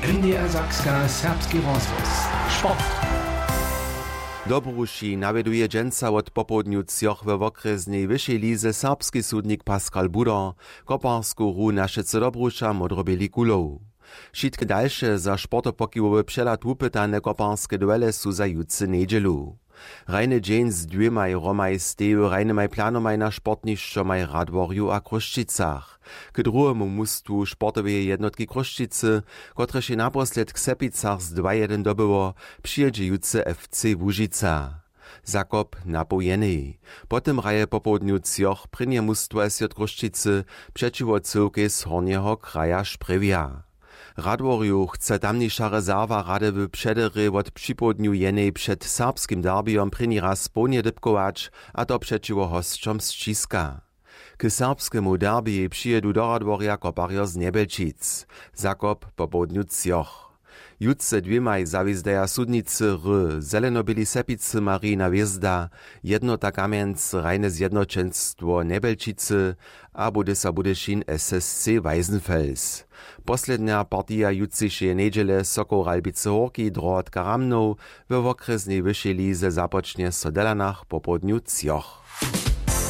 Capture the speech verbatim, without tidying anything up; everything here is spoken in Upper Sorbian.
N D R Sakska, serbski rozhłos. Sport. Dobruši nawjeduje dźensa wot popołdnju třoch we wokrjesnej wyšej lize serbski sudnik Pascal Budar. Koparsku hru na wšetcy Dobruša modroběli kulow. Wšitke dalše za sportopokiwowy přehlad wupytane koparske duele su za jutře njedźelu. Hrajny dźeń z dwěmaj hromaj steji w hrajnymaj planomaj na sportnišćomaj w Radworju a Chrósćicach. K druhemu mustwu sportoweje jednotki Chrósćicy, kotrež je naposledk w Sepicach z dwa jedyn dobyło, přijědźe jutře F C Łužica. Zakop na poł jenej. Potom hraje popołdnju třoch prěnje mustwo S J Chrósćicy přećiwo cyłkej z Hornjeho kraja Sprjewja. Radworju chce tamniša rezerwa rady w přederje wot připołdnju jenej před serbskim derbijom prěni raz połdnje dypkować, a to přećiwo hosćom z Ćiska. K serbskemu derbijej přijědu do Radworja koparjo z Njebjelčic. Zakop popołdnju třoch. Jutře dwěmaj zawězdaja sudnicy r zelenoběli Sepicy Marijina Hwězda, Jednota Kamjenc, hrajne zjednoćenstwo Njebjelčicy a Budysa Budyšin S S C Weisenfels. Poslednja partija jutřišeje njedźele Sokoł Ralbicy Hórki, Drohotka Ramnow, we wokrjesnej wyšej lize započnje so w Delanach popołdnju třoch.